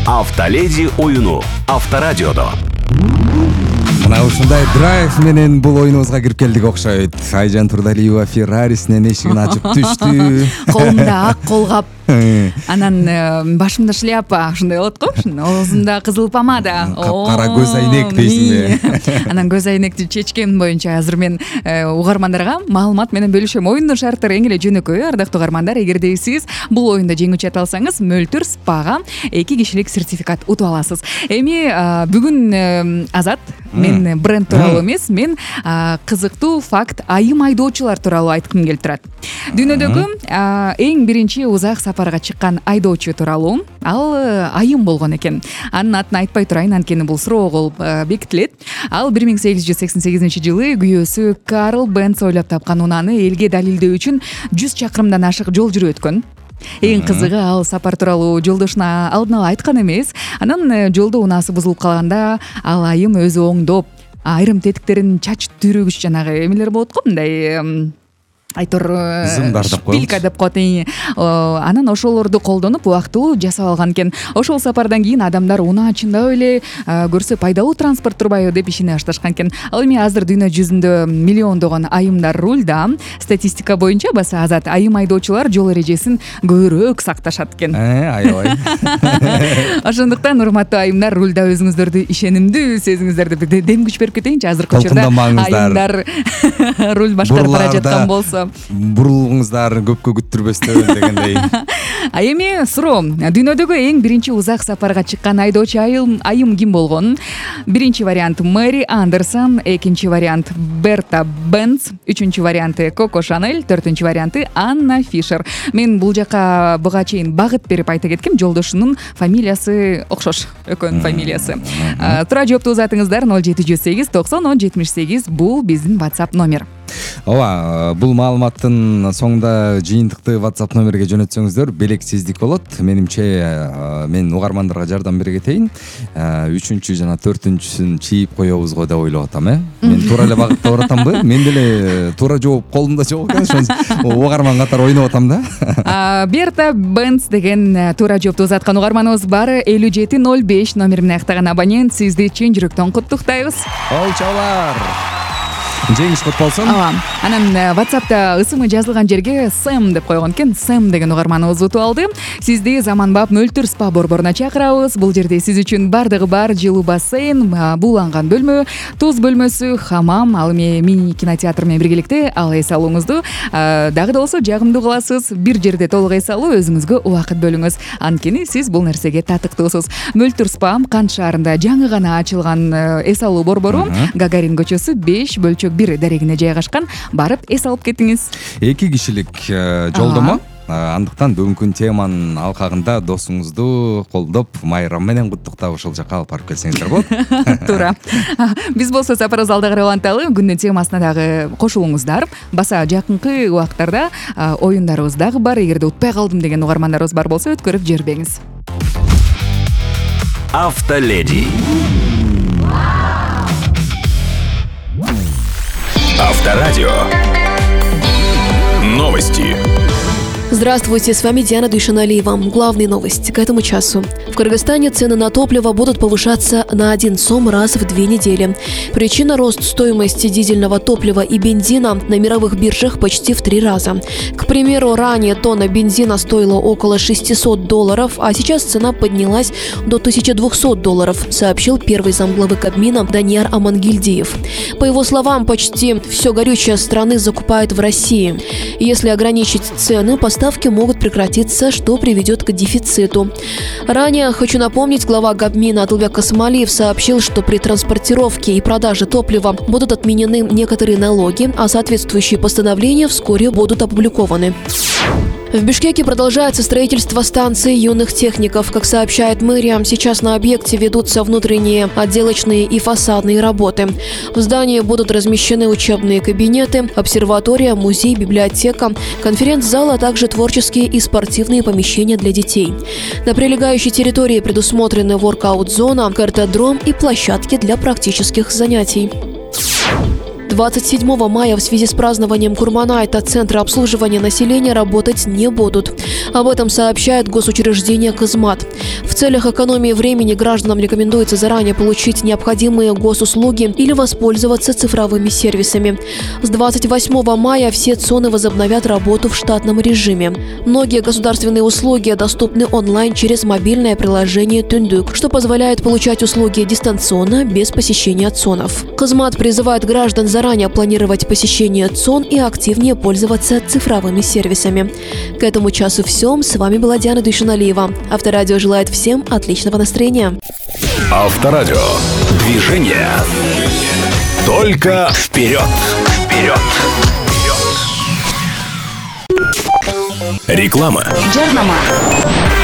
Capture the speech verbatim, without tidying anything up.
Автоледи оюну Авторадиодо. Мына ушундай драйв менен бул оюнубузга кирип келдик окшойт. Айжан Турдалиева Феррарисинен эшигин ачып түштү. Колумда ак колгап, анан башымда шляпа, ушундай болот го. Оозумда кызыл помада, капкара көз айнек дейсиңби? Анан көз айнекти чечкем боюнча азыр мен угармандарга маалымат менен бөлүшөм. Оюндун шарттары эң эле жөнөкөй, ардактуу угармандар. Эгерде сиз бул оюнда жеңүүчү ата алсаңыз, Мөлтүр спага эки кишилик сертификат утуп аласыз. Эми бүгүн Азат мен бренд тууралуу эмес, мен кызыктуу факт айым айдоочулар тууралуу айткым келип турат. Дүйнөдөгү эң биринчи узак сапарга чыккан айдоочу тууралуу ал айым болгон экен. Анын атын айтпай турайын, анткени бул суроо кылып бекитилет. Ал бир миң сегиз жүз сексен сегизинчи жылы күйөөсү Карл Бенц ойлоп тапкан унааны элге далилдөө үчүн жүз чакырымдан ашык жол жүрүп өткөн. Эң кызыгы, ал сапар тууралуу жолдошуна алдын ала айткан эмес. Анан жолдо унаасы бузулуп калганда ал айым өзү оңдоп, айрым тетиктерин чач түрүгүч жанагы эмелер болот го, мындай айтор шпилька деп коет. Анан ошолорду колдонуп убактылуу жасап алган экен. Ошол сапардан кийин адамдар унаа чындап эле көрсө пайдалуу транспорт турбайбы деп ишене башташкан экен. Ал эми азыр дүйнө жүзүндө миллиондогон айымдар рульда. Статистика боюнча баса Азат, айым айдоочулар жол эрежесин көбүрөөк сакташат экен. Э, аябай. Ошондуктан урматтуу айымдар, рульда өзүңүздөрдү ишенимдүү сезиңиздер деп дем күч берип кетейинчи. Азыркы учурда айымдар руль башкарып бара жаткан болсо бурулуңуздар көпкө күттүрбөстөн дегендей. А эми суроо, дүйнөдөгү эң биринчи узак сапарга чыккан айдоочу айым айым ким болгон? Биринчи вариант Мэри Андерсон, экинчи вариант Берта Бенц, үчүнчү варианты Коко Шанель, төртүнчү варианты Анна Фишер. Мен бул жака буга чейин багыт берип айта кеткем, жолдошунун фамилиясы окшош, экөөнүн фамилиясы. Туура жоопту узатыңыздар ноль жети жүз сегиз токсон он жетимиш сегиз, бул биздин WhatsApp номер. Ооба, бул маалыматтын соңунда жыйынтыкты WhatsApp номерге жөнөтсөңүздөр белексиздик болот. Менимче мен угармандарга жардам бере кетейин. үчүнчү жана төртүнчүсүн чийип коебуз го деп ойлоп атам, э. Мен туура эле багытта баратамбы? Мен деле туура жооп колумда жок экен, ошон угарман катары ойноп атам да. Берта Бенц деген туура жоопту узаткан угарманыбыз бар. элүү жети ноль беш номер менен аяктаган абонент, сизди чын жүрөктөн куттуктайбыз. Ол чалар. Жеңиш кут болсун. Ооба. Анан WhatsApp'та ысымы жазылган жерге Сэм деп койгон экен. Сэм деген угарманыбыз утуп алды. Сизди заманбап Мөлтүр спа борборуна чакырабыз. Бул жерде сиз үчүн бардыгы бар: жылуу бассейн, бууланган бөлмө, туз бөлмөсү, хамам, ал эми мини кинотеатр менен биргеликте ал эс алууңузду дагы да болсо жагымдуу кыласыз. Бир жерде толук эс алуу, өзүңүзгө убакыт бөлүңүз. Анткени сиз бул нерсеге татыктуусуз. Мөлтүр спа Кант шаарында жаңы гана ачылган эс алуу борбору. Гагарин көчөсү беш бөлчөк бир дарегине жайгашкан. Барып эс алып кетиңиз. Эки кишилик жолдомо. Андыктан бүгүнкү теманын алкагында досуңузду колдоп, майрам менен куттуктап ошол жака алып барып келсеңиздер болот. Туура. Биз болсо сапарыбызды алда карай уланталы. Күндүн темасына дагы кошулуңуздар. Баса жакынкы убактарда оюндарыбыз дагы бар. Эгерде утпай калдым деген угармандарыбыз бар болсо, өткөрүп жибербеңиз. Автоледи. Авторадио. Новости. Здравствуйте, с вами Диана Душаналиева. Главные новости к этому часу. В Кыргызстане цены на топливо будут повышаться на один сом раз в две недели. Причина – рост стоимости дизельного топлива и бензина на мировых биржах почти в три раза. К примеру, ранее тонна бензина стоила около шестисот долларов, а сейчас цена поднялась до тысячи двухсот долларов, сообщил первый замглавы Кабмина Данияр Амангильдиев. По его словам, почти все горючее страны закупают в России. Если ограничить цены, поставки могут прекратиться, что приведет к дефициту. Ранее, хочу напомнить, глава Кабмина Атылбек Касымалиев сообщил, что при транспортировке и продаже топлива будут отменены некоторые налоги, а соответствующие постановления вскоре будут опубликованы. В Бишкеке продолжается строительство станции юных техников. Как сообщает мэрия, сейчас на объекте ведутся внутренние, отделочные и фасадные работы. В здании будут размещены учебные кабинеты, обсерватория, музей, библиотека, конференц-зал, а также творческие и спортивные помещения для детей. На прилегающей территории предусмотрены воркаут-зона, картодром и площадки для практических занятий. двадцать седьмого мая в связи с празднованием Курманайта центры обслуживания населения работать не будут. Об этом сообщает госучреждение «Кызмат». В целях экономии времени гражданам рекомендуется заранее получить необходимые госуслуги или воспользоваться цифровыми сервисами. С двадцать восьмого мая все ЦОНы возобновят работу в штатном режиме. Многие государственные услуги доступны онлайн через мобильное приложение «Түндүк», что позволяет получать услуги дистанционно, без посещения ЦОНов. Кызмат призывает граждан заранее планировать посещение ЦОН и активнее пользоваться цифровыми сервисами. К этому часу все. С вами была Диана Дуйшаналиева. Авторадио желает всем отличного настроения. Авторадио. Движение. Только вперед. Вперед. Вперед. Реклама. Жарнама.